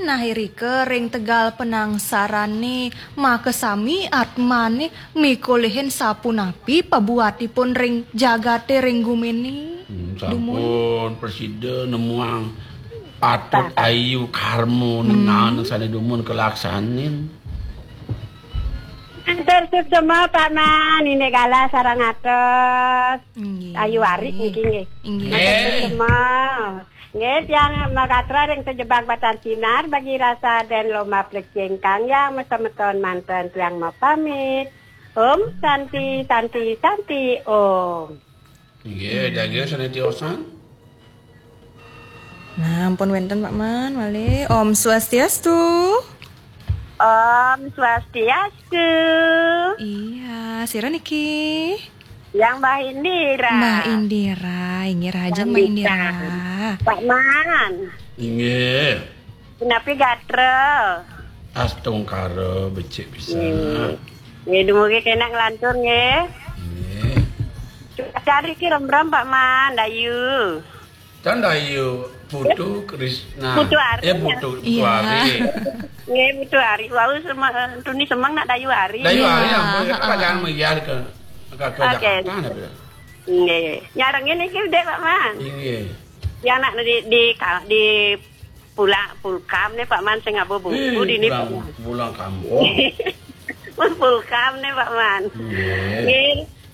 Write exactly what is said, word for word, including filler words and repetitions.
Nah, irika ring tegal penangsarane, makasami atmane mikolihin sapunapi pabuatipun ring jagate ring gumine. Hmm, dumun. Sampun prasida nemuang patut ayu karma ning naen sane dumun kalaksanin. Atur suksma, Pak Man, indik galah sareng atos. Inggih. Ayu waris niki nggih. Inggih. Atur suksma. Nggih, tiang magatra ring Sejebag Batang Sinar, bagi rasa den lomba plecing kang yang masemeton manten tiang mapamit. Om Santi, Santi, Santi, Om. Inggih, jaga sane tiosan. Nah, ampun wenten Pak Man, malih. Om Swastiastu. Om Swastiastu. Iya, sira niki? Yang Mbah Indira. Mbah Indira, inggih rahajeng Mbah Indira. Pak Man. Inggih. Punapi gatra? Astungkara becik pisan. Nggih. Nggih, dumugi kenak nglantur nggih. Nggih. Cuaca riki remrem Pak Man, dayu. Tan dayu Putu Krisna. Putu Ari. Eh, Putu, Putu Ari. Nggih, Putu Ari. Wau semeng, tuni semeng nak dayu Ari. Dayu Ari, ampun, kita pajangan melihat ke, ke, ke Jakarta, napa? Nggih. Nyarengin niki, Dek, Pak Man. Inggih. Ya, nak di, di, di pulang, pulkam nih, Pak Man, sing ngaba buku dini, Pak Man. Pulang kampung. Pulkam nih, Pak Man. Nggih. Nggih.